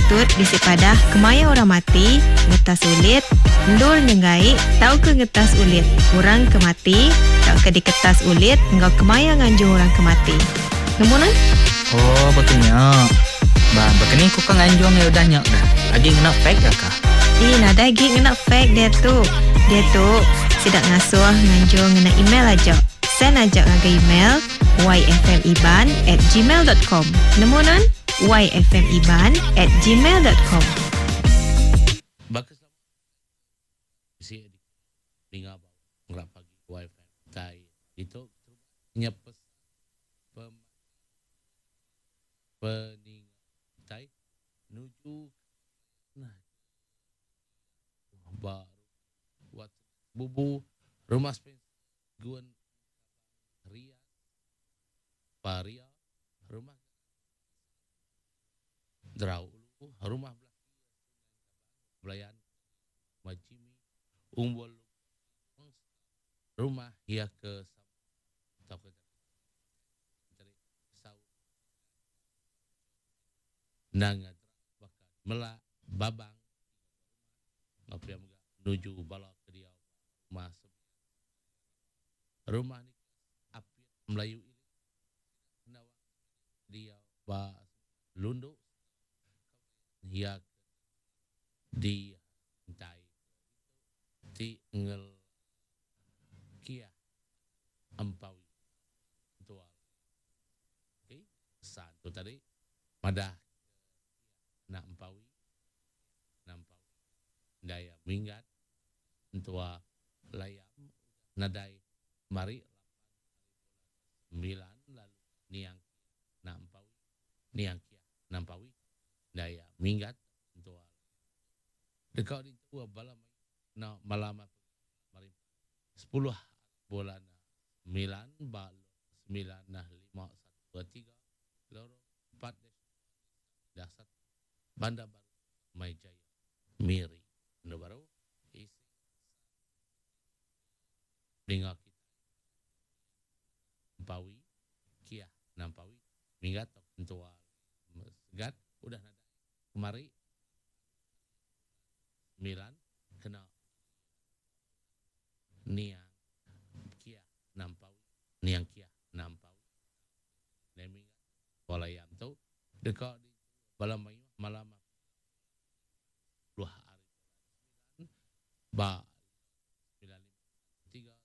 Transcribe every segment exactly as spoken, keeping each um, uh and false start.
patut bisi padah kemaya orang mati, ngetas ulit, endur nyenggai tauka ngetas ulit orang ke mati tauka diketas ulit enggau kemaya nganjung orang ke mati. Nemu nuan? Oh, baka nya. Ba, baka ni ku ka nganjung ya udah nya dah. Agi ngena fax ke kah? Ih, nadai agi ngena fax dia tu. Dia tu sidak ngasuh nganjung ngena email aja. Send aja ngagai email yfmiban at gmail dot com. Nemu nuan? yfmiban at gmail dot com. Baka bisi ninga ba ngelak pagi Y F M tai itu nyepes pem peninga tai nuju nah ba wat bubu rumah Spencer Guan Ria Paria rumah Drau Ulu rumah belah Belayan Majimi Umbul rumah ia ke tau ke sau nanga bakal melak babang ngapia mega menuju bala ke dia rumah rumah ni api Melayu ini dia ba lunduk ia di tai ti ngel kia empawi tua. Okey, satu tadi madah nak empawi nampau daya minggat tua layam nadai mari sembilan lalu niang nampawi niang kia nampawi daya minggat tua dekat di tua bala na malam mari sepuluh bulan sembilan ba sembilan nah lima satu dua tiga lorong empat dah satu Bandar Baru Mai Jaya Miri Bandar Baru isi dengar kita Nampawi Kia Nampawi minggat tua segat udah nada kemari sembilan kena niang Kia Nampawi niang Kia Nampawi neming walayam tu dekat di bala mayu malam dua hari ba sembilan lima tiga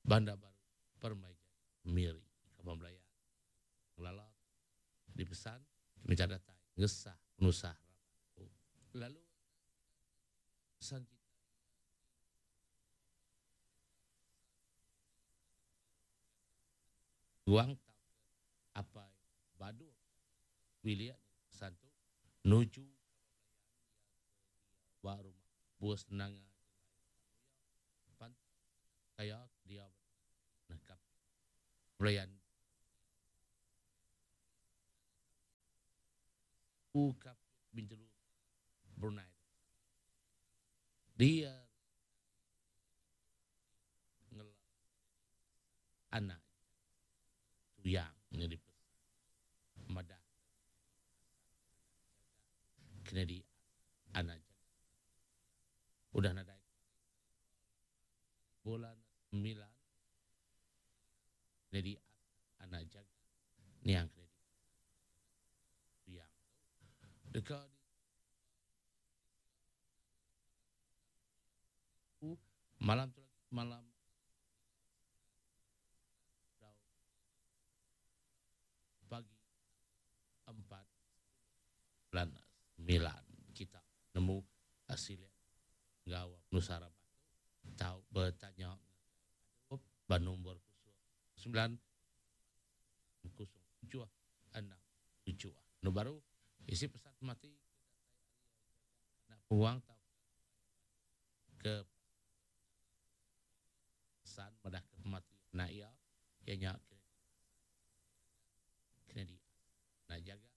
Bandar Baru Permai Miri Kampung Melayu Lala dipesan minta datang ngesah penusah lalu pesan kita guang apa badu wilayah pesan tu nuju baru buas nanga pan kaya dia nakap pelayan ukap bintulu Brunei dia ngelak anak tuyang ni madah kena di anak udah nadai bulan sembilan kena di anak jaga niang kena di tuyang dekat di malam tu lagi malam pagi empat bulan sembilan kita nemu hasil gawa nusara tahu bertanya ban nombor sembilan kosong tujuh enam tujuh. Nu baru isi pesan mati nak puang tahu ke pesan madah ke mati nak ia ianya kena di nak jaga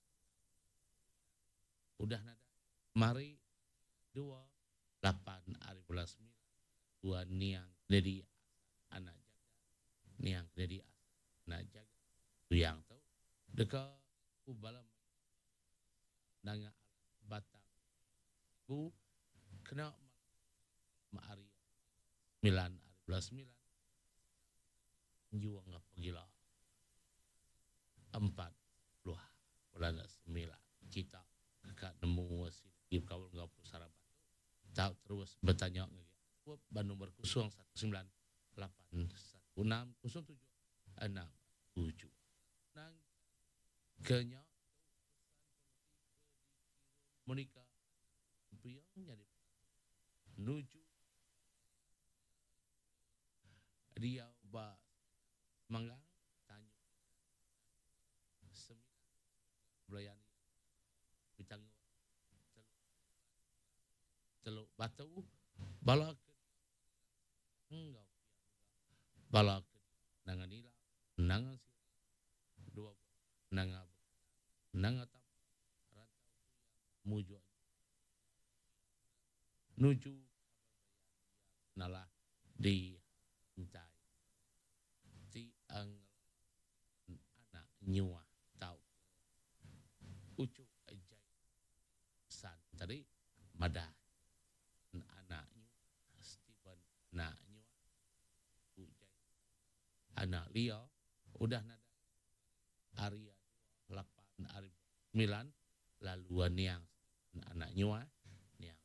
udah nada mari dua lapan hari bulan sembilan dua niang jadi anak jaga niang jadi anak jaga yang tu dekat balam Nanga Batang Bu kena hari sembilan hari bulan sembilan juang pagila empat puluh bulan sembilan kita dekat nemu si kaul ngau pusara batu tau terus bertanya ngagai ban nomor kosong satu sembilan lapan satu enam kosong tujuh enam tujuh nang kenya Monica Piang jadi nuju dia ba manggang tanya sembilan belayan bitang teluk batu bala ke enggau bala ke nangan nila nangan dua nanga nanga tap rantau muju nuju nalah di intai ti ang anak nyuah tau ucu jai san tadi madah anak nyuah Steven anak nyuah ujai anak Lia udah nada hari lapan hari sembilan lalu niang anak nyuah niang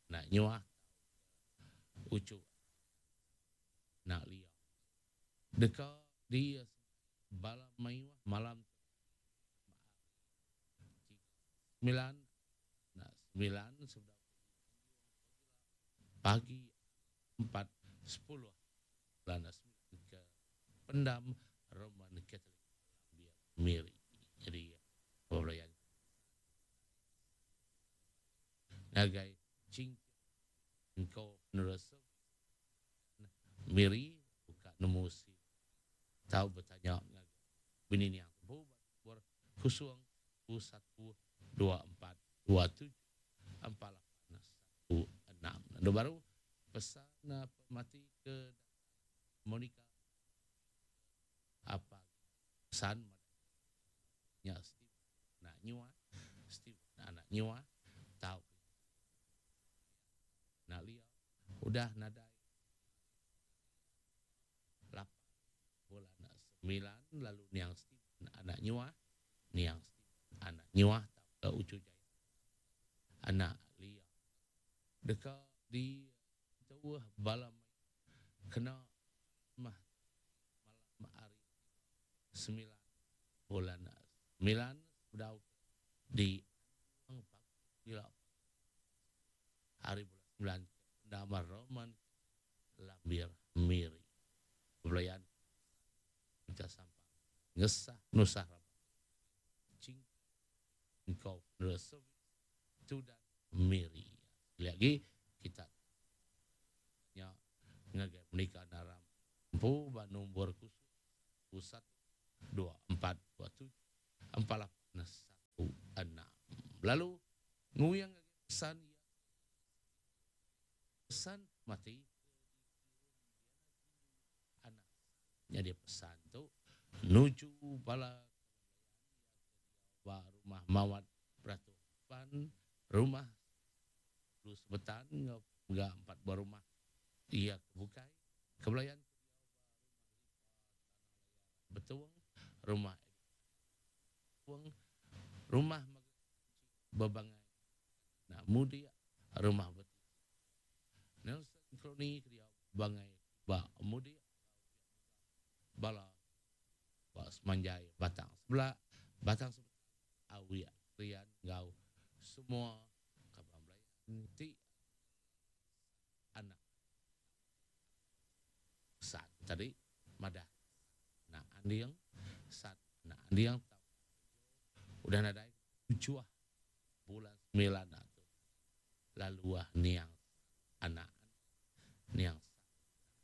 anak nyuah ucu anak Lia deka di bala mayuh malam sembilan nak sembilan sudah pagi empat sepuluh bulan sembilan ke pendam Roman Catholic Miri. Jadi pembelayan ngagai cing engkau penerus Miri buka nemu si tahu bertanya ngagai bini ni yang bu kosong satu dua empat dua tujuh empat lapan satu enam. Lalu baru pesan pemati ke Monica apa pesan nya Steve nak nyua Steve anak nyua tahu nak lia udah nadai lapan bulan sembilan lalu niang Steve anak nyua niang Steve anak nyua tahu ke ucu jaya anak lia deka di tuah balam kena mah malam hari sembilan bulan sembilan sudah di gila hari bulan sembilan nama Roman Lambir Miri belayan kita sampai ngesah nusah cing engkau resep tu dan Miri lagi kita nya ngagai menikah dalam empu ba nombor khusus satu dua empat dua tujuh empat lapan satu enam lalu nguyang pesan pesan mati anak jadi pesan tu nuju bala ba rumah mawat peraturan rumah lu sebetan enggak empat buah rumah ia kebukai kebelayan betuang rumah rumah bebangai nak mudi rumah betul Nelson Kroni dia bangai ba mudi bala ba semanjai batang sebelah batang sebelah awi rian gau semua kaban belayan ti anak sat tadi madah nak andiang sat nak andiang udah nadai tujuh bulan sembilan tu lalu ah niang anak niang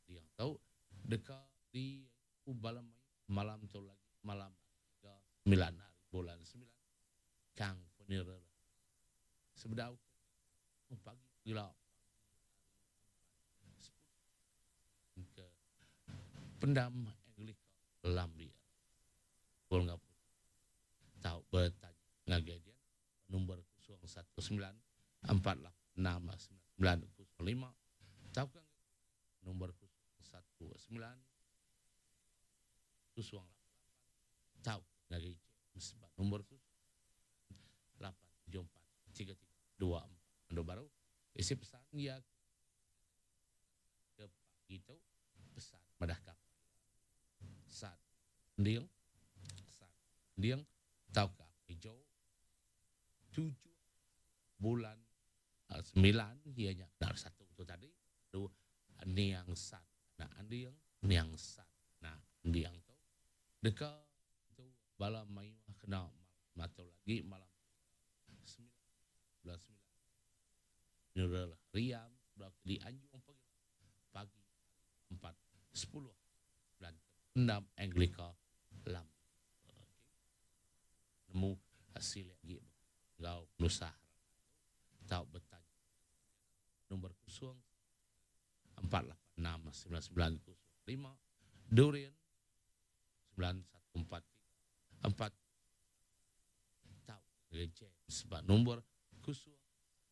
niang tahu deka di malam malam tu lagi malam tiga sembilan hari bulan sembilan kang funeral sebedau pagi gila ke pendam Anglika Lambia. Boleh tahu bertanya ngagai dia nombor satu sembilan empat lapan enam sembilan kosong lima tauka nombor kosong satu sembilan kosong lapan tau ngagai James ba nombor lapan tujuh empat tiga tiga dua empat. Ando baru isi pesan ya ke pagi tu pesan madah kap sat ndiang sat ndiang tauka hijau tujuh bulan uh, sembilan ianya dar satu tu tadi tu niang sat na andiang niang sat na andiang tu deka tu bala mayuh kena malam lagi malam sembilan bulan sembilan Nurul Riam di Anjung pagi pagi empat sepuluh bulan enam Anglika lam. Okay. Nemu hasil lagi ngau penusah tau bertanya nombor kosong empat lapan enam sembilan sembilan kosong lima Durian sembilan satu empat tiga empat tau James sebab nombor kosong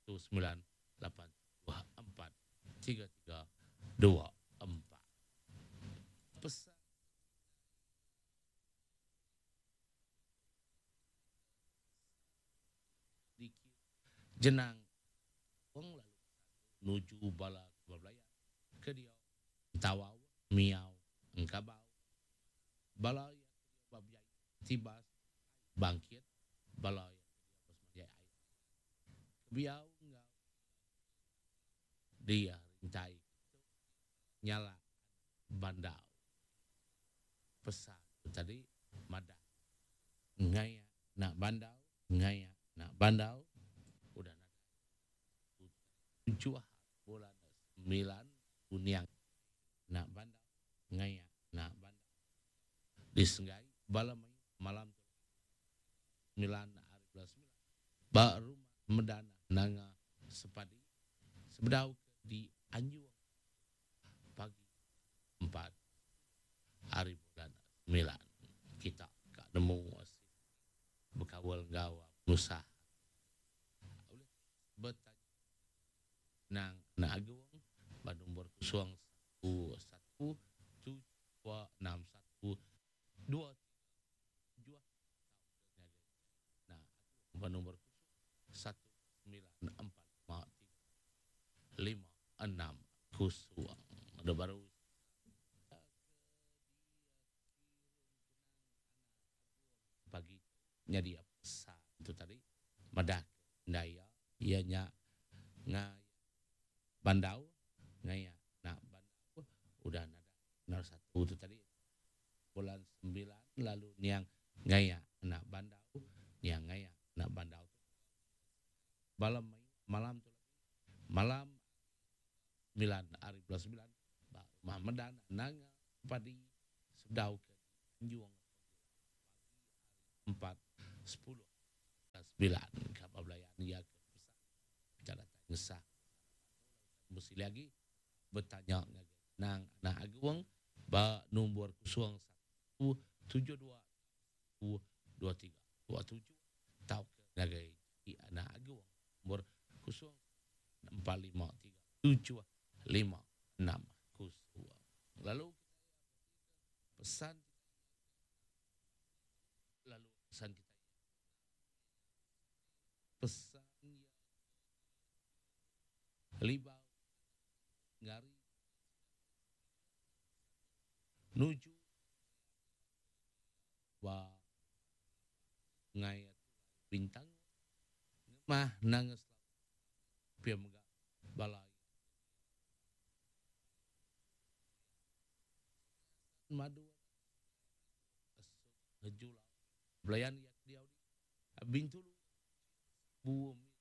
satu sembilan lapan dua empat tiga tiga dua empat. Pesan dikit jenang wong lalu nuju bala kebelayan ke dia tawau miau engkabau bala yang babjai tibas bangkit bala yang air biau ngau dia rintai nyala bandau pesan tadi madah ngaya nak bandau ngaya nak bandau udah nak tujuh bulan sembilan uniang nak bandau ngaya nak bandau disenggai bala malam sembilan hari bulan sembilan ba rumah medana nanga sepadi sebedau di Anjung pagi empat hari bulan sembilan kita kak nemu bekawal gawa penusah bertanya nang nak agung ba nombor kosong satu satu tujuh dua enam satu dua tujuh nah ba nombor satu sembilan empat lima tiga lima enam kosong. Ada baru pagi nyadi pesan itu tadi madah daya ianya ngai bandau ngaya nak bandau udah nada nomor satu itu tadi bulan sembilan lalu niang ngaya nak bandau niang ngaya nak bandau malam malam tu malam sembilan hari bulan sembilan rumah medan nanga padi sedau ke Anjung empat sepuluh sembilan kapal belayan ya ke pesan bicara ngesah mesti lagi bertanya nang anak agung ba nombor kosong satu tujuh dua dua tiga dua tujuh tau ke ngagai anak agung nombor kosong empat lima tiga tujuh lima enam kosong. Lalu pesan lalu pesan kita pesan libau ngari nuju wa ngayat bintang mah nangis pia mega balai madu hejula belayan yak diau di bintulu bumi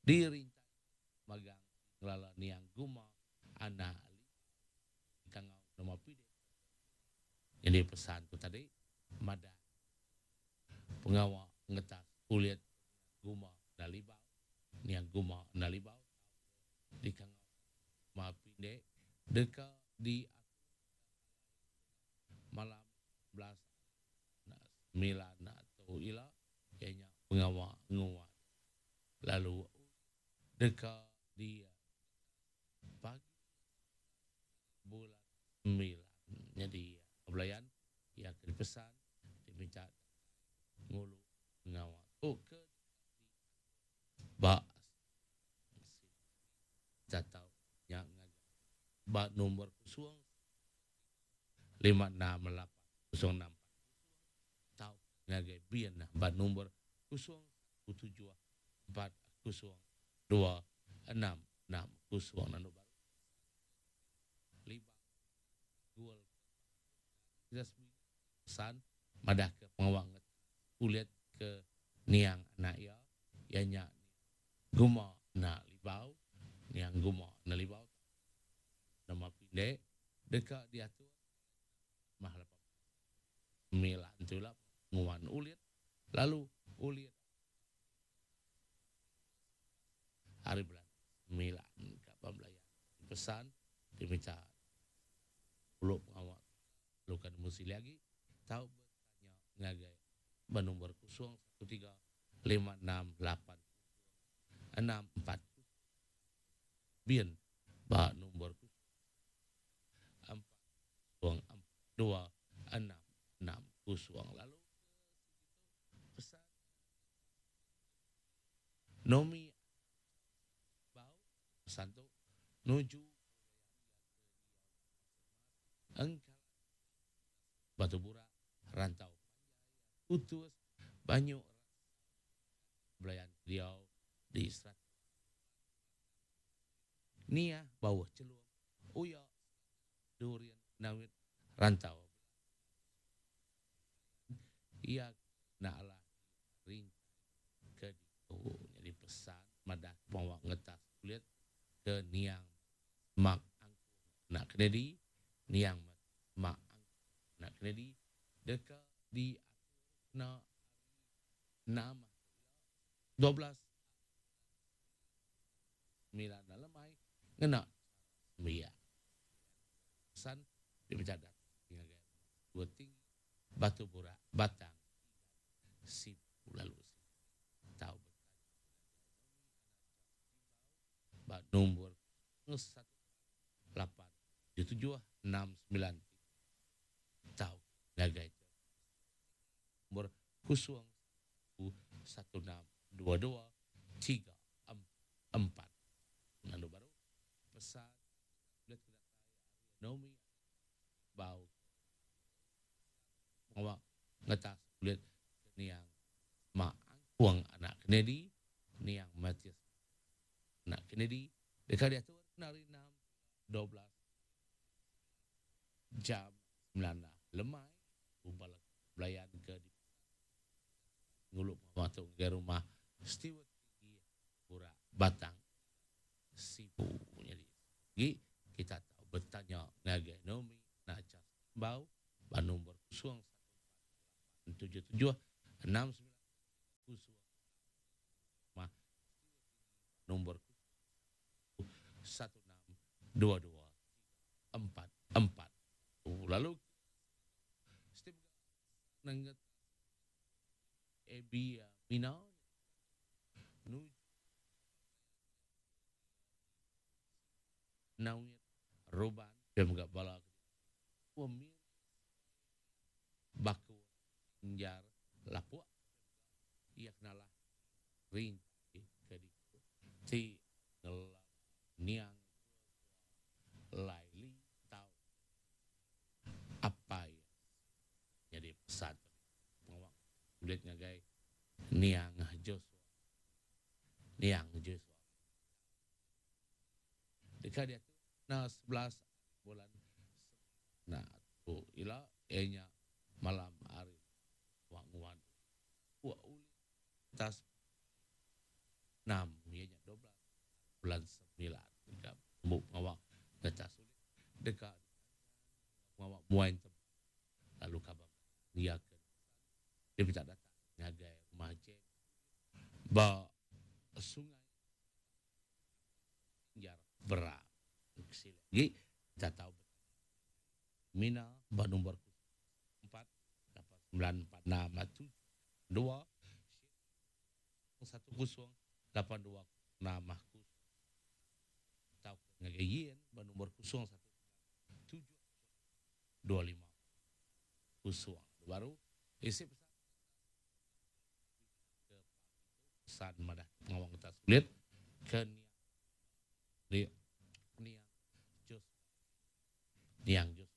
dirintai magang ngelala niang guma anak kangau nama pide. Jadi pesan tu tadi madah pengawak ngetas kulit guma nalibau niang guma nalibau di kangau ma pinde deka di malam belas sembilan atau ila ianya pengawak nguat Lalu deka di pagi bulan sembilan. Jadi belayan ia ke pesan diminta ngulu ngawak tu ke ba jatau yang ba nombor kosong lima enam lapan kosong enam tau ngagai bian ba nombor kosong tujuh empat kosong dua enam enam kosong nanu baru lima gol pesan madah ke pengawang kulit ke niang anak ia ianya guma nak libau niang guma nak libau nama pendek dekat diatur mahal sembilan tulap nguan ulit lalu ulit hari bulan sembilan kapal belayan pesan diminta uluk pengawal lukan musi lagi tahu bertanya ngagai bernombor kosong satu tiga lima enam lapan enam empat bien ba nombor empat kosong dua enam enam kosong lalu pesan nomi bau pesan tu nuju engkau batu burak rantau putus banyak belayan dia di serat nia bawah celung uya durian nawit rantau ia nak ring ke jadi pesan madah bawa ngetas kulit ke niang mak nak kena niang mak nak kena di dekat di na enam dua belas sembilan lemai ngena sembilan pesan dipencadat dua tinggi batu burak batang si lalu tahu ba nombor satu lapan tujuh enam sembilan tahu ngagai nombor kosong satu enam dua dua tiga empat lalu baru pesan nomi bau awak ngetas kulit niang mak angkuang anak Kennedy niang Matias anak Kennedy dekat dia tu nari enam dua belas jam sembilan lemai ubal belayan ke di nguluk masuk ke rumah Stewart tinggi Burak Batang Sibu. Jadi kita tahu bertanya ngagai Nomi nak cas bau ba nombor kosong satu tujuh tujuh enam sembilan kosong mah nombor satu enam dua dua empat empat. Lalu setiap nengget Ebi Mina nu nawir roban pemga bala wamir baku njar lapua ia kenalah rinci ke di ti ngela niang laili tau apa ya jadi pesan pengawak kulit ngagai niang Joshua niang Joshua dekat dia tu na sebelas bulan nah tu ila enya malam hari wanguan wa uli tas enam ianya dua belas bulan sembilan dekat bu pengawak dekat sulit dekat pengawak muain lalu kabar dia ke dia minta datang ngagai rumah Jack ba sungai jar berak lagi kita tahu Mina ba nombor empat lapan sembilan empat enam tujuh dua satu kosong lapan dua enam tau ngagai yen ba nombor kosong satu tujuh dua lima kosong. Baru isi pesan ke pesan madah pengawang kita sulit ke niang niang Jos niang Jos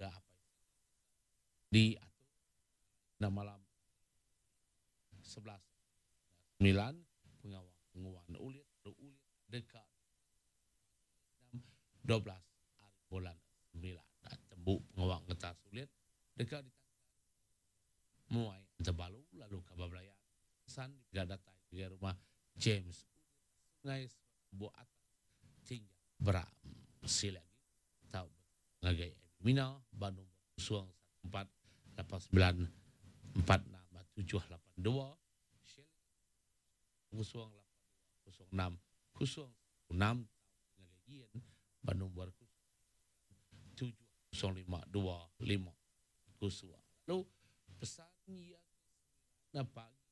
ke apa di atur na malam sebelas sembilan pengawang nguan ulit ulit dekat dua belas hari bulan sembilan tembu pengawang kita sulit dekat di muai terbalu lalu kabar belayan pesan tidak datang ke rumah James Sungai Buat Tinggal Beram sila lagi tau ngagai Mina Bandung kosong satu empat lapan sembilan empat enam tujuh lapan dua kosong lapan kosong enam kosong enam ngagai Yen Bandung buat tujuh kosong lima dua lima kosong. Lalu pesan ia na pagi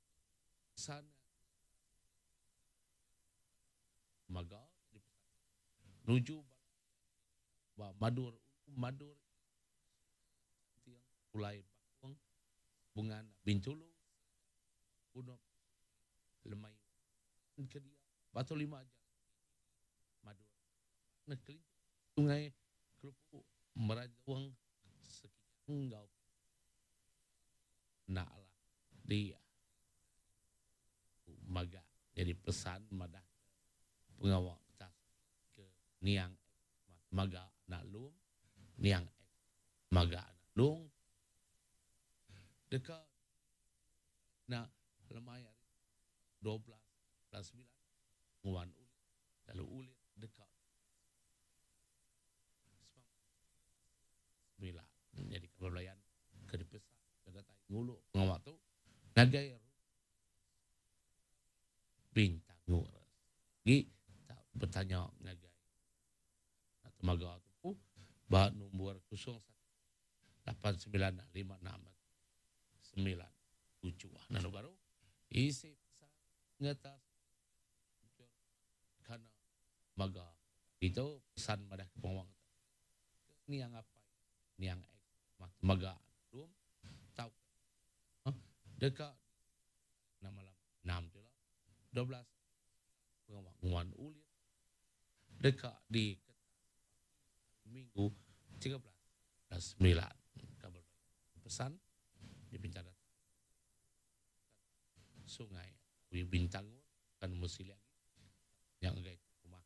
pesan maga nuju ba madur madur tiang pulai bakung bungan bintulu bunuh lemai kedia batu lima aja madur nekeli sungai kelupu merajung sekian ngau nak lah di maga jadi pesan madah pengawak atas ke niang maga anak lum niang maga anak lung dekat nak lemai hari dua belas bulan sembilan nguan ulit lalu ulit dekat sembilan jadi kebelayan ke dipesan ke datai ngulu pengawak tu ngagai bintang gi tak bertanya ngagai temaga tu ba nombor kosong satu lapan sembilan lima enam sembilan tujuh. Nah baru isi pesan ngatas kana maga itu pesan madah ke pengawang ni yang apa ni yang maga belum tahu dekat nama malam enam tu lah dua belas pengawang ulit dekat di minggu tiga belas sembilan kabar pesan di bintang sungai wi bintang kan mesti lagi yang gai rumah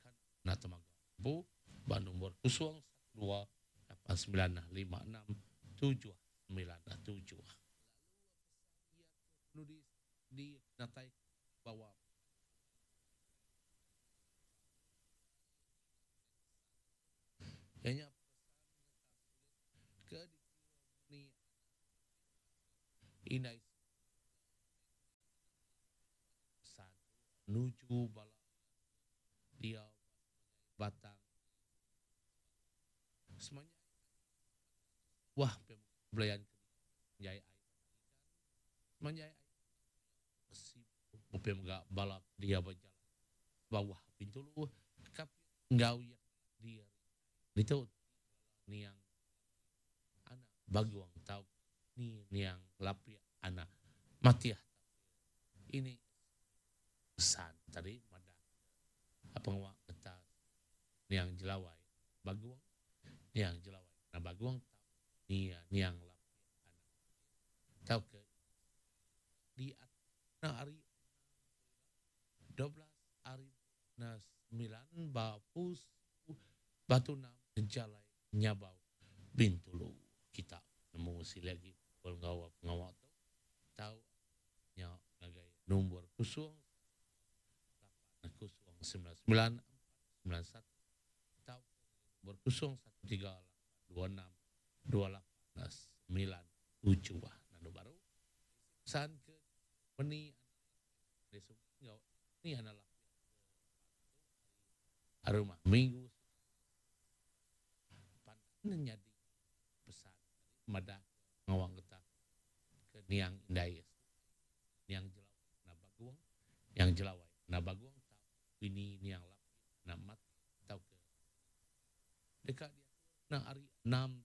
kan nak temaga bu ba nombor kosong satu dua lapan sembilan lima enam tujuh sembilan tujuh. Lalu di di natai bawa hanya ke ni inai satu nuju bala dia batang semuanya wah belayan jai menjai si upem ga balap dia berjalan bawah pintu lu kap ngau ya dia itu niang anak baguang tau ni niang lapia anak matiah ini pesan tadi madah apa ngawak kata niang jelawai baguang niang jelawai na baguang ni niang lapia anak tau ke di na hari dua belas hari na sembilan bapus batu enam jalai nyabau bintulu kita nemu si lagi pengawak pengawak tu tahu nya ngagai nombor kosong lapan kosong sembilan sembilan sembilan satu tahu nombor kosong satu tiga lapan dua enam dua lapan sembilan tujuh. Nando baru pesan ke meni ni adalah rumah minggu pandan jadi pesan madah ngawang getah ke niang indai niang jelau na baguang Yang Jelawai na Bagung Bini Niang Lap na Mat tau ke dekat dia na hari enam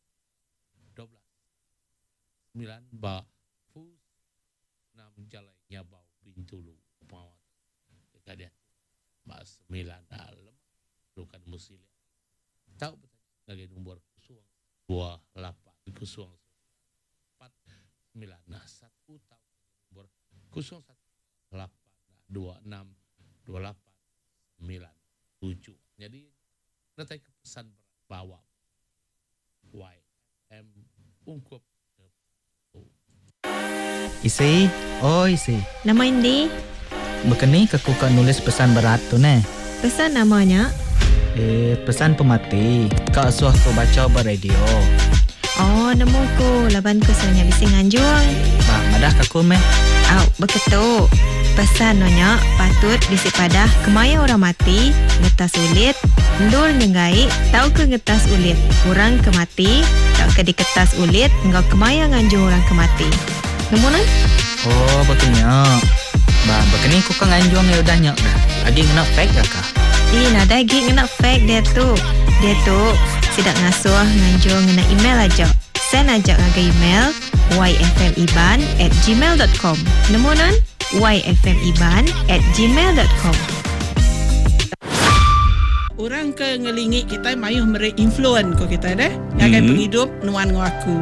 dua belas sembilan ba fus enam jalai nyabau Bintulu pengawal dekat dia ba sembilan dalam lukan musilia tau bertanya lagi nombor kosong dua lapan kosong empat sembilan nah satu tau nombor kosong satu lapan dua enam dua lapan sembilan tujuh. Jadi nanti pesan bawa Y M ungkup isi oh isi nama ini bekeni ke ku nulis pesan berat tu ne pesan namanya eh pesan pemati kak suah ku baca ber radio. Oh nemu ku laban ku sebenarnya bisi nganjung ba madah ka ku meh au beketu pesan nonya patut bisi padah kemaya orang mati ngetas ulit ndur nyengai tau ke ngetas ulit orang ke mati tau ke diketas ulit ngau kemaya nganjung orang ke mati nemu nan. Oh betulnya ba bekeni ku ka nganjung ya udah nyak dah agi ngena fake ka. Ih, nadai agi ngena fake dia tu. Dia tu sidak ngasuh nganjung ngena email aja. Send aja ngagai email y f m iban at gmail dot com. Nemu nan? y f m iban at gmail dot com. Orang ke ngelingi kita mayuh meri influen ko kita deh ngagai mm-hmm. penghidup nuan ngau aku.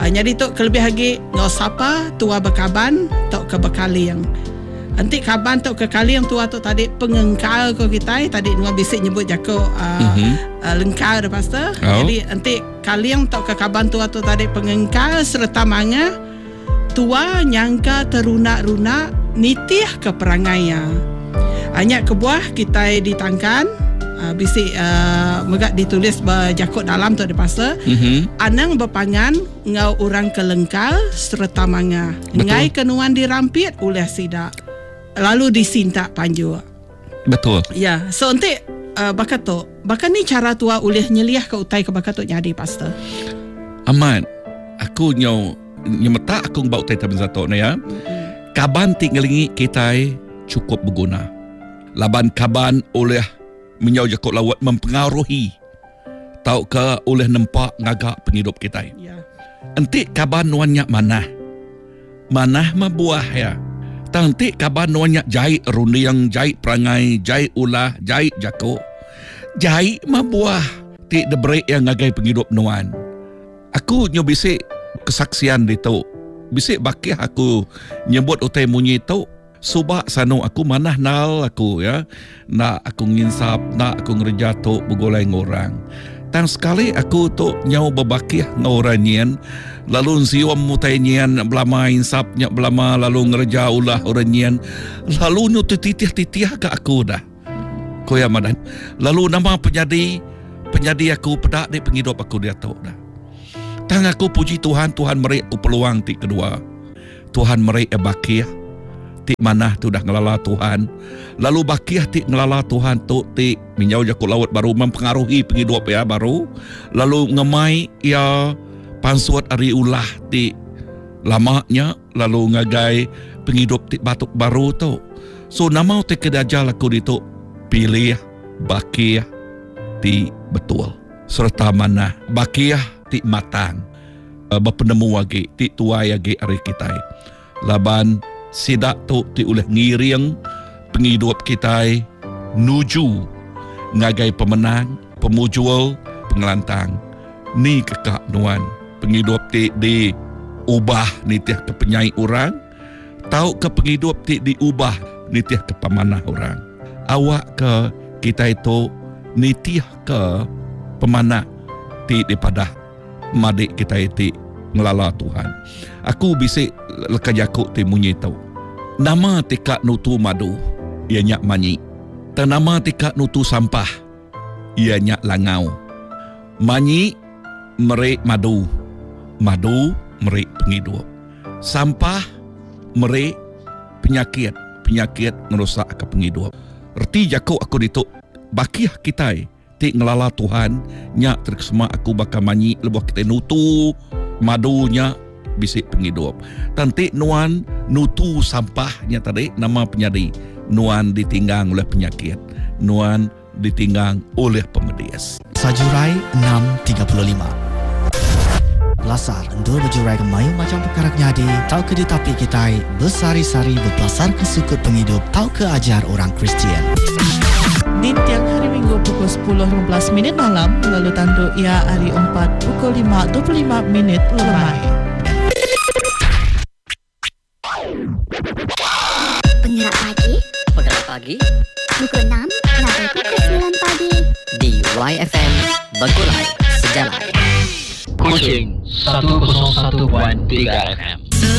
Uh, jadi tu kelebih lagi ngau sapa tua berkaban tok ke bekaling. Enti kaban tok ke kaling tua tu tadi pengengkal ko kita tadi nuan bisik nyebut jako uh, mm-hmm. uh, lengkar dah pastor. Oh. Jadi enti kaling tok ke kaban tua tu tadi pengengkal serta manga tua nyangka terunak-runak nitih ke perangaiya. Hanya kebuah kita ditangkan uh, bisik uh, megak ditulis berjakut dalam tu di pastor. Mm-hmm. Anang berpangan ngau orang kelengkal serta manga. Ngai kenuan dirampit oleh sidak. Lalu disintak panjuk. Betul. Ya, so nanti uh, bakat tu, bakat ni cara tua ulih nyeliah ke utai ke bakat tu jadi pastor. Amat, aku nyau nyemetak aku ngبau utai taben satu ni ya. Mm-hmm. Kaban ti ngelingi kita cukup berguna. Laban kaban oleh menyau jakut lawat mempengaruhi tau ke oleh nempak ngagak penghidup kita. Ya. Enti kaban nuan nyak manah. Manah mah buah ya. Tang ti kaban nuan nyak jai rundiang, jai perangai, jai ulah, jai jako. Jai mah buah ti deberi yang ngagai penghidup nuan. Aku nyu bisik kesaksian ditu. Bisik bakih aku nyebut utai munyi tu. Subak sanu aku manah nal aku ya. Nak aku nginsap, nak aku ngerja tu bergolai ngorang. Tang sekali aku tu nyau berbakih ngau orang nyian. Lalu nsium mutai nyian belama insap nyak belama lalu ngerja ulah orang nyian. Lalu nyu titih-titih ke aku dah. Koya madah. Lalu nama penyadi penyadi aku pedak di penghidup aku dia tu dah. Tang aku puji Tuhan, Tuhan meri aku peluang ti kedua. Tuhan meri bakih ti manah tu dah ngelala Tuhan. Lalu bakih ti ngelala Tuhan tu ti minjau jakut laut baru mempengaruhi penghidup ya baru. Lalu ngemai ia pansuat ari ulah ti lamanya lalu ngagai penghidup ti batuk baru tu. So nama ti kedajal aku ditu pilih bakih ti betul serta manah bakih ti matang berpenemu agi ti tuai agi ari kita. Laban sidak tu ti ulih ngiring penghidup kita nuju ngagai pemenang, pemujual, pengelantang. Ni kekak nuan penghidup ti diubah nitih ke penyai orang, tau ke penghidup ti diubah nitih ke pemanah orang. Awak ke kita itu nitih ke pemanah ti dipadah madik kita ti ngelala Tuhan. Aku bisik leka jakuk ti munyi tu. Nama tika nutu madu, ia nyak manyi. Dan nama tika nutu sampah, ia nyak langau. Manyi merik madu, madu merik penghidup. Sampah merik penyakit, penyakit merosak ke penghidup. Erti jakuk aku ditu bakih kita ti ngelala Tuhan nyak terkesema aku bakal manyi lebuh kita nutu madunya bisik penghidup. Tanti nuan nutu sampahnya tadi nama penyadi Nuan ditinggang oleh penyakit. Nuan ditinggang oleh pemedis. Sajurai enam tiga puluh lima. Pelasar endur berjurai ke mayu macam perkara nyadi tau ke ditapi kitai besari-sari berpelasar ke sukut penghidup tau ke ajar orang Kristian. Di tiang hari Minggu pukul sepuluh lima belas minit malam lalu tanduk ia hari empat pukul lima dua puluh lima minit lemai. Penggerak pagi. Penggerak pagi. Pukul enam sampai pukul sembilan pagi. Di Y F M Begulai Sejalai. Kuching seratus satu tiga F M.